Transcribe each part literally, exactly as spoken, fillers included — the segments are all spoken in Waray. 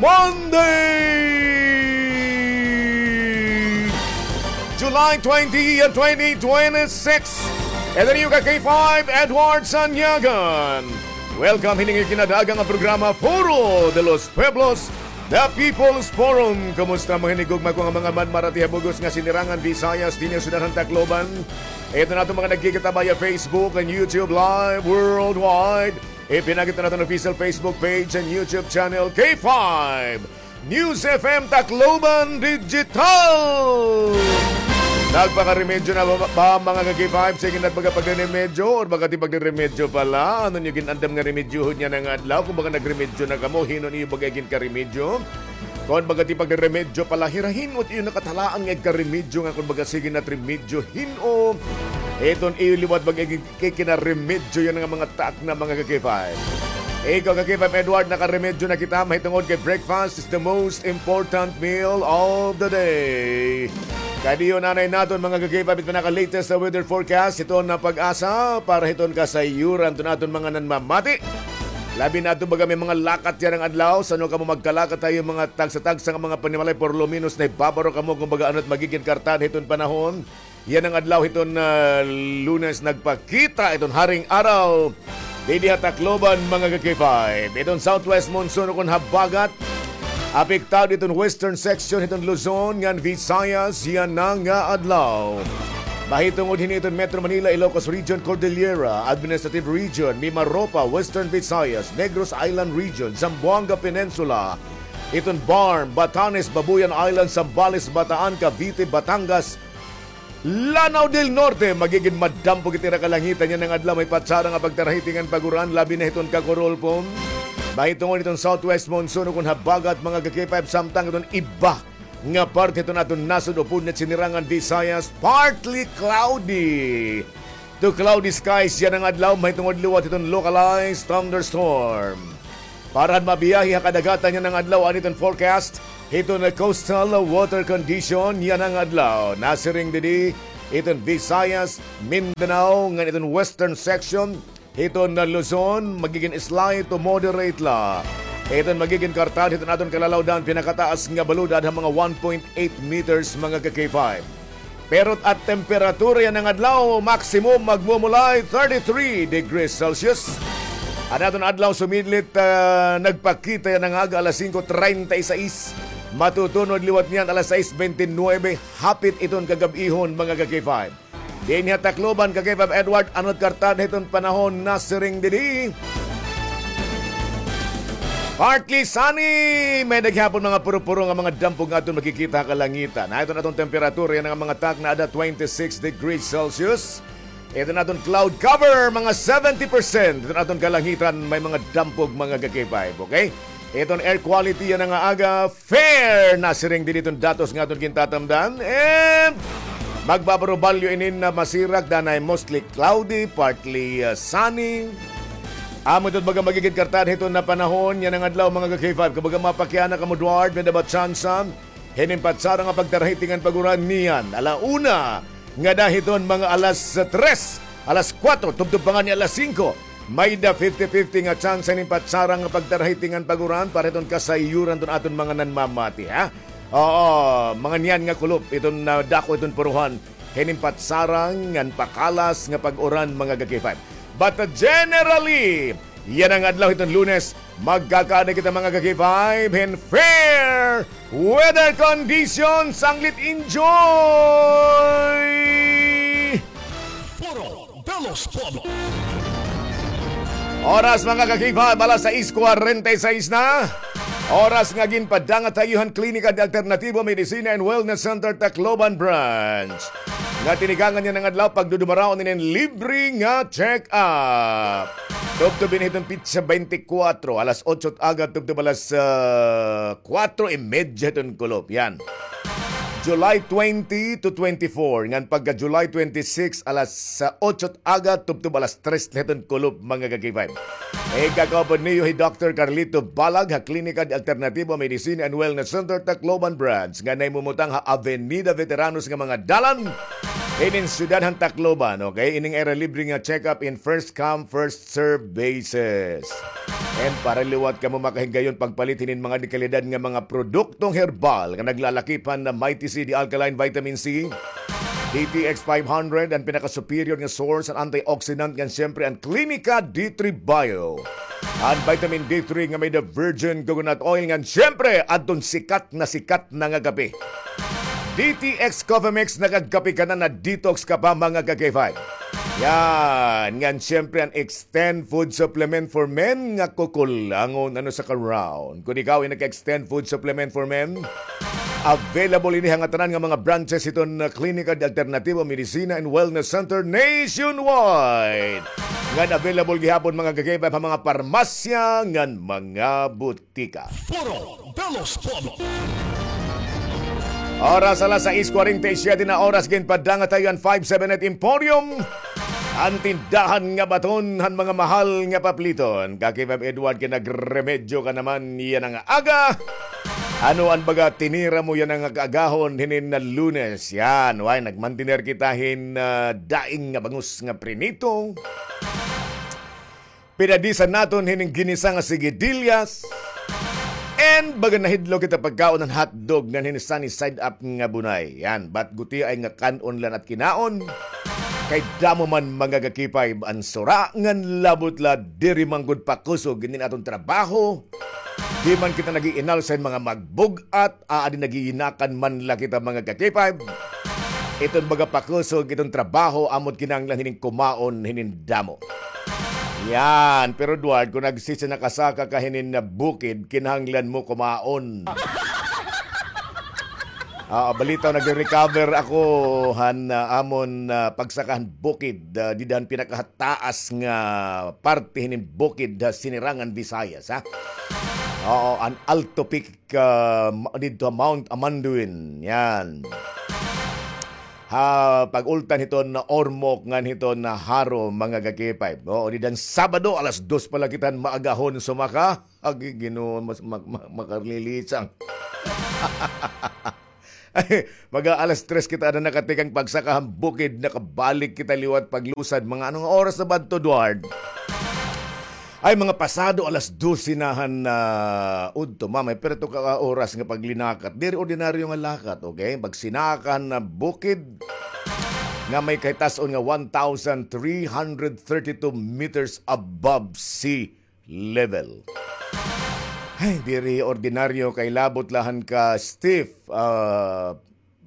Monday, July twenty, twenty twenty-six. Ito niyo ka K five, Edward Sanyagan. Welcome hini nga kinadaaga nga programa, Foro de los Pueblos, The People's Forum. Kumusta mga hinigugma ko nga mga manmarati ha bug-os nga Sinirangan Visayas dinhi ha syudad han Tacloban? Ito na aton mga nagkikita via Facebook and YouTube Live worldwide. Ipinakita naton official Facebook page and YouTube channel, K five News F M Tacloban Digital. Nagpakaremedyo na ba, ba, mga ka-K five? Sige na, baga pagre-remedyo or baga ti pagre-remedyo pala? Ano niyo gin-andam nga remedyohon yana nga adlaw? Kon baga nagremedyo na kamo, hin-o niyo baga ginkaremedyo? Kon baga ti pagre-remedyo pala, hira hin-o it iyo nakatalaan nga igkaremedyo nga kon baga sige na it remedyo, hin-o iton iyo liwat baga gin- kay kinaremedyo yana nga mga takna, mga ka-K five. Ikaw, ka-K five Edward, nakaremedyo na kita mahitungod kay breakfast is the most important meal of the day. Kadiyon anay naton, mga ka-K five, it pinaka-latest sa weather forecast hiton na PAGASA para hiton kasayuran hiton aton mga nanmamati. Labi na adto baga may mga lakat yana nga adlaw, san-o kamo magkalakat ha iyo mga tagsa-tagsa nga mga panimalay, por lo menos nahibabaro kamo kon baga ano it magigin kartan hiton panahon. Yana nga adlaw hiton, ah, Lunes nagpakita iton haring araw didi ha Tacloban, mga ka-K five. Iton southwest monsoon ukon habagat apektado iton western section hiton Luzon ngan Visayas yana nga adlaw. Mahitungod hini iton Metro Manila, Ilocos Region, Cordillera Administrative Region, Mimaropa, Western Visayas, Negros Island Region, Zamboanga Peninsula, iton BARMM, Batanes, Babuyan Island, Zambales, Bataan, Cavite, Batangas, Lanao del Norte, magigin madampog it ira kalangitan yana nga adlaw, may patsara nga pagtarahiting ngan pag-uran, labi na hiton Cagurulpo. Mahitungod hiton southwest monsoon ukon habagat, mga ka-K five, samtang iton iba nga parte hiton aton nasod upod na Sinirangan Visayas, partly cloudy to cloudy skies yana nga adlaw, mahitungod liwat hiton localized thunderstorm. Para han mabiyahe ha kadagatan yana nga adlaw, an iton forecast hiton coastal water condition yana nga adlaw. Nasiring didi iton Visayas, Mindanao, ngan iton western section hiton Luzon, magigin slight to moderate la. Iton magigin kartan hiton aton kalalawdan, pinakataas nga balod adha mga one point eight meters, mga ka-K five. Pero at temperatura yana nga adlaw, maximum magmumulay thirty-three degrees Celsius. An aton adlaw sumidlit, ah, nagpakita yana nga aga alas singko treinta y seis. Matutunod liwat niyan alas sais bente nuebe, hapit iton kagab-ihon, mga ka-K five. Dinhi ha Tacloban, ka-K five Edward, ano it kartan hiton panahon, nasiring didi? Partly sunny, may-ada gihapon mga puro-puro nga mga dampog nga aton makikita ha kalangitan. Ha, iton aton temperatura yana nga mga takna, ada twenty-six degrees Celsius. Iton aton cloud cover, mga seventy percent. Iton aton kalangitan, may mga dampog, mga ka-K five, okay? Iton air quality yana nga aga, fair, nasiring didi iton datos nga aton gintatamdan. And magbabarobalyo inin na masirak, danay mostly cloudy, partly, uh, sunny. Amo iton baga magigin kartan hiton na panahon yana nga adlaw, mga ka-K five. Kumbaga mapakiana kamo, Edward, may-ada ba tsansa hinin patsara nga pagtarahiting ngan pag-uran niyan ala una ngada hiton mga alas tres, alas kuwatro, tubtob pa ngani alas singko. May-ada fifty fifty nga tsansa hinin patsara nga pagtarahiting ngan pag-uran para hiton kasayuran hiton aton mga nanmamati, ha? Oo, mga niyan nga kulop, iton, ah, dako iton puruhan hinin patsara ngan pakalas nga pag-uran, mga ka-K five. But, uh, generally, yana nga adlaw hiton Lunes, magkakaada kita, mga ka-K five, hin fair weather conditions. Sanglit enjoy! Foro de los Pueblos. Oras, mga ka-K five, alas sais kwarenta y sais na. Oras nga ginpadangat ha iyo han Klinika de Alternatibo Medicina and Wellness Center, Tacloban Branch, nga tinikangan yana nga adlaw pagdudumaraon hinin libre nga check-up. Tubtob ini hiton petsa bente kuwatro, alas otso it aga tubtob alas, ah, kuwatro y medya hiton kulop. Yan. July twenty to twenty-four, ngan pagka July twenty-six, alas, ah, otso it aga tubtob alas tres la hiton kulop, mga ka-K five. Igkakaupod niyo hi Doktor Carlito Balag ha Klinika de Alternativo Medicine and Wellness Center, Tacloban Branch, nga nahimumutang ha Avenida Veteranos nga mga dalan hinin syudad han Tacloban, okay? Ining ira libre nga check-up in first come, first serve basis. And para liwat kamo makahigayon pagpalit hinin mga dekalidad nga mga produktong herbal nga naglalakip han Mighty C D Alkaline Vitamin C, D T X five hundred, an pinaka-superior nga source han antioxidant, ngan siyempre an Clinica D three Bio, an vitamin D three nga may the virgin coconut oil, ngan siyempre adton sikat na sikat na nga kape. D T X Coffee Mix, nakagkape ka na, na-detox ka pa, mga ka-K five. Yan. Ngan, siyempre, an Extend Food Supplement for Men nga kukulangon ano sa ka-round. Kon ikaw ay nag-Extend Food Supplement for Men, available ini ha ngatanan nga mga branches hiton, uh, Klinika de Alternativo Medicina and Wellness Center nationwide. Ngan available gihapon, mga ka-K five, ha mga parmasya ngan mga butika. Foro de los Pueblos. Oras alas sais kwarenta y siyete na oras, ginpadangat ha iyo an five seven eight Emporium, an tindahan nga baton han mga mahal nga papliton. Ka-K five Edward, kay nagremedyo ka naman yana nga aga. Ano an baga tinira mo yana nga kaagahon hinin na Lunes? Yan, way, nagmantiner kita hin, ah, daing nga bangus nga prinito. Pinadisan naton hinin ginisa nga sigidillas. And baga nahidlaw kita pagkaon han hotdog ngan hinin sunny side up nga bunay. Yan, bat gutiay nga kan-on la an at kinaon. Kay damo man, mga ka-K five, an sura ngan labot la diri man gud pakusog hinin aton trabaho. Di man kita nag-iinalsa hin mga magbug-at, aadi nag-iinakan man la kita, mga ka-K five. Iton baga pakusog iton trabaho, amo't kinahanglan hinin kumaon hinin damo. Yan, pero Edward, kon nagsisinakasaka ka hinin na bukid, kinahanglan mo kumaon. Ah, balitaw, nag-recover ako han, ah, amon, ah, pagsaka han bukid, ah, dida han pinakahataas nga parte hinin bukid ha Sinirangan, Visayas, ha? Oo, an Alto Peak, ah, ma-, didto ha Mount Amanduin. Yan. Ha pag-ultan hiton Ormoc ngan hiton Jaro, mga ka-K five. Oo, dida han Sabado, alas dos pa la kita han maagahon sumaka. Agi, Ginoo, mas, ma-, ma-, makarililisang. Ay, mga alas tres kita na nakatikang pagsaka han bukid, nakabalik kita liwat paglusad. Mga ano nga oras na ba ito, Edward? Ay, mga pasado alas dose na han, ah, udto, mamay, pero ito ka oras nga paglinakat. Diri ordinaryo nga lakat, okay? Pagsinaka han bukid nga may kahitas-on nga one thousand three hundred thirty-two meters above sea level. Ay, diri ordinaryo kay labot la han ka stiff, ah,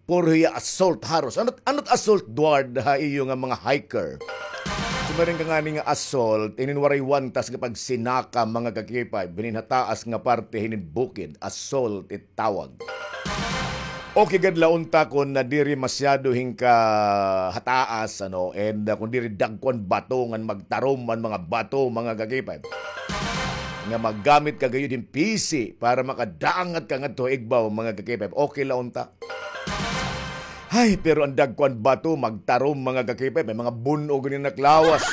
puro hiya assault haros. Ano't, ano't assault, Edward, ha iyo nga mga hiker? Siring ka ngani nga assault, inin waray wantas nga pagsinaka, mga ka-K five, hinin hataas nga parte hinin bukid, assault it tawag. Okay gad la unta kon na diri masyado hin kahataas, ano, and, uh, kon diri dagko an bato ngan magtarom an mga bato, mga ka-K five. Nga maggamit ka gayud hin pisi para makadangat ka ngadto ha igbaw, mga ka-K five. Okay la unta. Ay, pero an dagko an bato, magtarom, mga ka-K five, may mga bun-og ini naklawas.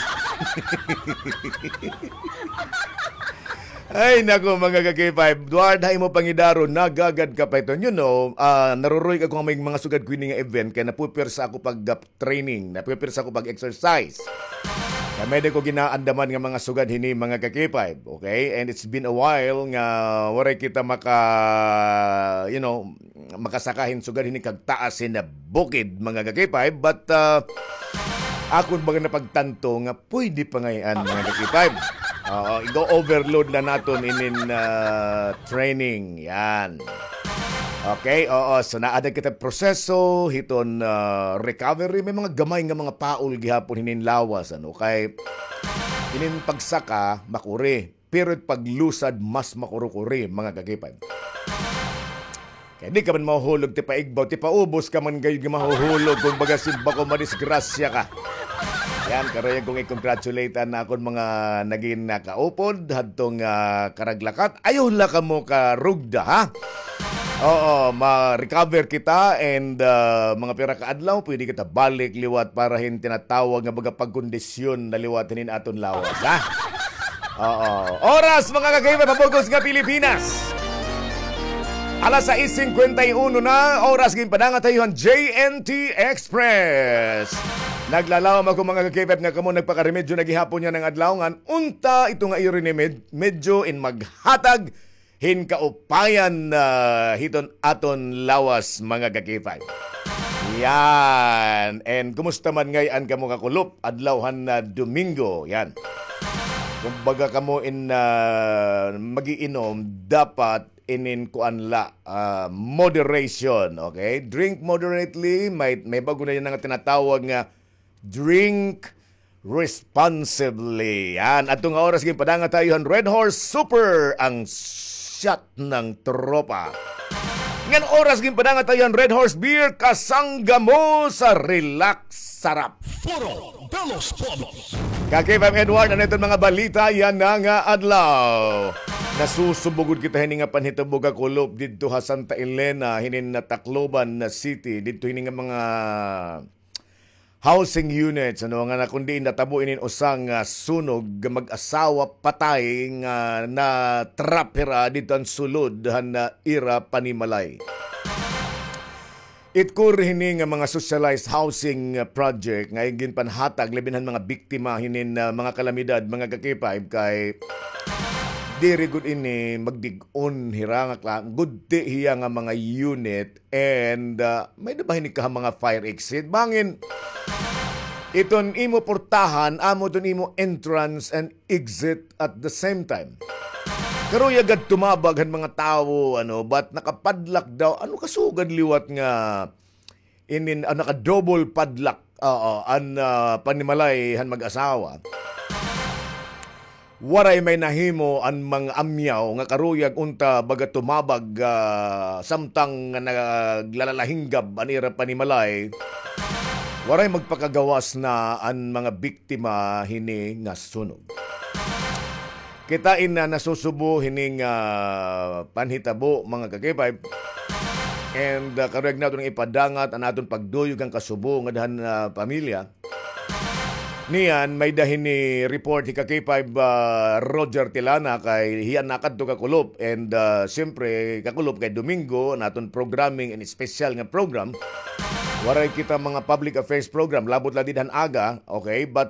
Ay, nako, mga ka-K five. Edward, ha imo pangidaron, nagagad ka pa iton. You know, ah, naruruy ako nga may mga sugad ko ini nga event, kay napupersa ako pag, ah, training, napupersa ako pag-exercise. Kay may-ada ko ginaandaman nga mga sugad hini, mga ka-K five, okay? And it's been a while nga waray kita maka, you know, makasaka hin sugad hini kagtaas hin bukid, mga ka-K five, but, ah, akon baga napagtanto nga pwede pa ngay-an, mga ka-K five. Oo, igo-overload na naton inin, ah, training. Yan. Okay, oo. So, naada kita proseso hiton, ah, recovery. May mga gamay nga mga paol gihapon hinin lawas, ano, kay inin pagsaka, makuri. Pero it paglusad, mas makurukuri, mga ka-K five. Kay di ka man mahuhulog, tipaigbaw, tipaubos ka man gayud nga mahuhulog, kon baga simbako, madisgrasya ka. Yan, karuyag kong i-congratulate an akon mga nagin nakaupod hadtong, ah, karaglakat. Ayaw la kamo karugda, ha? Oo, ma-recover kita and, ah, mga pira ka adlaw, pwede kita balik liwat para hin tinatawag nga baga pagkondisyon na liwat hinin aton lawas, ha? Oo. Oras, mga ka-K five, ha bug-os nga Pilipinas. Alas sais singkwenta y uno na, oras ginpadangat ha iyo han J N T Express. Naglalawom ako, mga ka-K five, nga kamo nagpakaremedyo na gihapon yana nga adlaw, ngan unta ito nga iyo rin med-, medyo in maghatag hin kaupayan, ah, hiton aton lawas, mga ka-K five. Yan. And kumusta man ngay-an kamo kakulop? Adlaw han, ah, Domingo. Yan. Kumbaga kamo in, ah, mag-iinom, dapat inin kuan la, ah, moderation, okay? Drink moderately, may, may bag-o na yana nga tinatawag nga drink responsibly. Yan, adto nga oras ginpadangat ha iyo han Red Horse Super, ang shot ng tropa. Ngan oras ginpadangat ha iyo han Red Horse Beer, kasangga mo sa relax sarap. Foro de los Pueblos. Ka-K five Edward, ano iton mga balita yana nga adlaw? Nasusubo gud kita hini nga panhitabo kakulop didto ha Santa Elena, hinin Tacloban City, didto hini nga mga housing units, ano, nga na kun diin natabo inin usa nga sunog, mag-asawa patay nga na-trap hira didto han sulod han, ah, ira panimalay. Itkor hini nga mga socialized housing, ah, project nga ginpanhatag labi na han mga biktima hinin, ah, mga kalamidad, mga ka-K five, kay diri gud ini magdig-on hira nga kla-, gudti hiya nga mga unit and, ah, may-ada ba hini ka mga fire exit? Bangin iton imo portahan, amo iton imo entrance and exit at the same time. Karuyag gad tumabag han mga tawo, ano, but nakapadlock daw. Ano kasugad liwat nga inin, ah, naka-double padlock, oo, an, ah, panimalay han mag-asawa. Waray may nahimo an mga amyaw nga karuyag unta baga tumabag, ah, samtang nga naglalahinggab an ira panimalay. Waray magpakagawas na an mga biktima hini nga sunog. Kita in, ah, nasusubo hini nga panhitabo, mga ka-K five. And, ah, karuyag naton ipadangat an aton pagduyog han kasubo ngada han, ah, pamilya. Niyan, may-ada hini report hi ka-K five, ah, Roger Tilana kay hiya nakadto kakulop. And, ah, siyempre, kakulop kay Domingo, an aton programming and special nga program. Waray kita mga public affairs program, labot la dida han aga, okay? But